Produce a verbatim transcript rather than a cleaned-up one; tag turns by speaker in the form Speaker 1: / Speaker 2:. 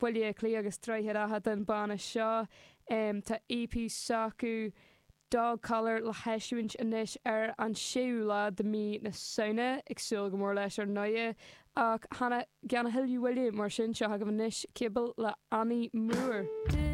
Speaker 1: Baile Átha Cliath agus Droichead Átha den banna seo. Um, tá EP s'acu Dog Collar le heisiúint anois ar an séú lá de mí na Samhna ag súil go mór leis ar ndóigh ach cheana gan a thuilleadh moille mar sin seo agaibh anois Cable le Annie Moore.